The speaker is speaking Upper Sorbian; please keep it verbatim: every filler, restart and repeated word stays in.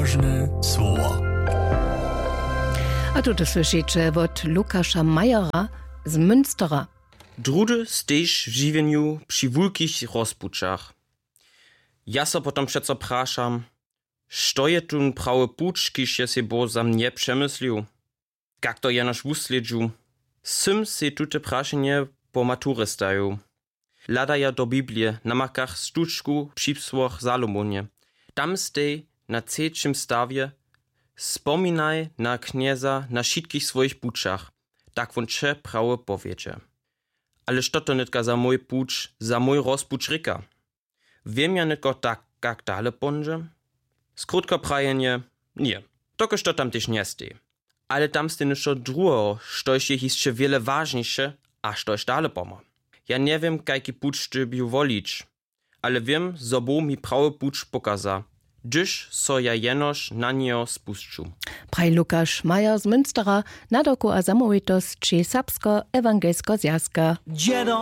Wóžne słowa. A tu to słyšiće wot Lukaša Majera z Münstera. Druhdy stejiš w žiwjenju při wulkich rozpućach. Ja so potom přeco prašam, što je tón prawy puć, kiž je sej Bóh za mnje přemyslił? Kak to jenož wuslědźu? Sym sej tute prašenje po maturje stajił. Hladaja do Biblije na markach stučku při psłoch Salomonje. Tam stej na třećim stawje: Spominaj na Knjeza na wšitkich swojich pućach, tak wón će prawje powjedźe. Ale što to nětka za mój puć, za mój rozpuć rěka? Wěm ja nětko tak, kak dale póńdźe? Skrótko prajenje, ně, dokelž to tam tež njestej. Ale tam stej něšto druheho, štož je hišće wjele wažniše a štož dale pomha. Ja njewěm, kajki puć dyrbju wolić, ale wěm, zo Bóh mi prawy puć pokaza, hdyž so ja jenož na njeho spusću. Praji Lukaš Majer z Münstera, nadawku a zamołwitosći Serbsko-ewangelsko zwjazka. Dźědo